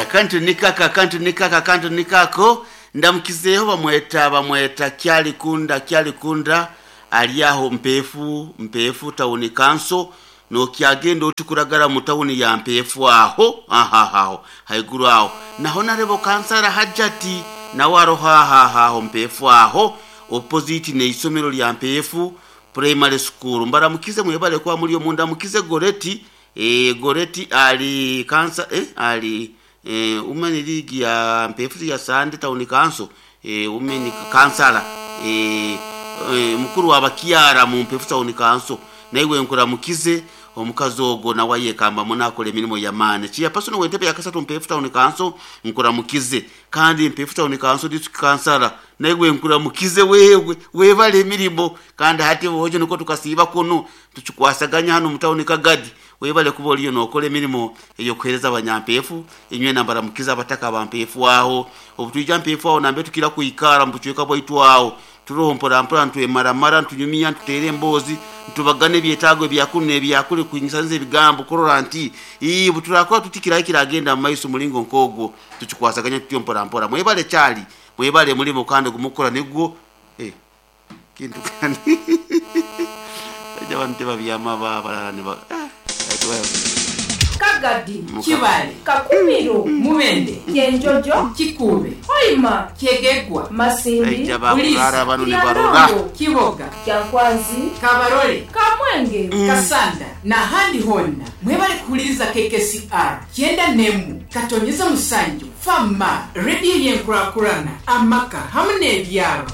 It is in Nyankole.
Akantu nikako, akantu nikako, akantu nikako. Ndamukizeeho bamweta bamweta Kyalikunda Kyalikunda ali aho Mpeefu Mpeefu Town Council nokyagenda oti kuragara mu tawuni ya Mpeefu aho aho aho haiguru aho. Na Honarebo Kansara Hajjati nawe aroho aho aho aho Mpeefu aho opposite n'eisomero lya Mpeefu Primary School. Mbaramukize mwebale kuba muri omu. Ndamukize Goreti eh, Goreti ali kansa eh, ali eh, Women League ya Mpeefu ya Sande Town Council eh, Women Kansala eh, eh, mukuru wa bakiara mu Mpeefu Town Council naiwe nkuramukize omukazi ogwo nawe ayekamba munakola emirimu yamaani. Chairperson w'entebe ya kasatu Mpeefu Town Council nkuramukize, kandi Mpeefu Town Council district kansala naiwe nkuramukize wewe webale emirimu, kandi hati bojo niko tukasiiba kuno tukikwasaganya hano mu town Kagadi. Webale kuba oliyo nokola emirimu eyokuhereza abanyampeefu. Inywe nambaramukiza abataka ba Mpeefu aho obutwija Mpeefu aho nambe tukira kwikara mu bucweka bwaitu aho turoho mpora mpora ntwemaramara ntunyumya ntutere emboozi ntubagane ebyetaago ebyakuru n'ebyakuri kuingisanza ebigambo kurora nti ii buturakora tutikirayo kiragenda mu maiso mulingo nkogwo tukikwasaganya tutyo mpora mpora. Mwebale kyali mwebale mulimo kandi gumukora nigwo kintu kandi aja abantu tebabyama balala ne ba Kagadi, Kibale, Kakumiro, Mubende, Kyenjojo, Kikuube, Hoima, Kyegegwa, Masindi, aija bakurara bano ne barora Lyantongo, Kiboga, Kyankwanzi, Kabarole, Kamwenge, Kasanda n'ahandi honna mwebale kuwuliriza KKCR 91 katonyeza musanju fama rediyo y'enkurakurana amaka hamwe n'ebyaro.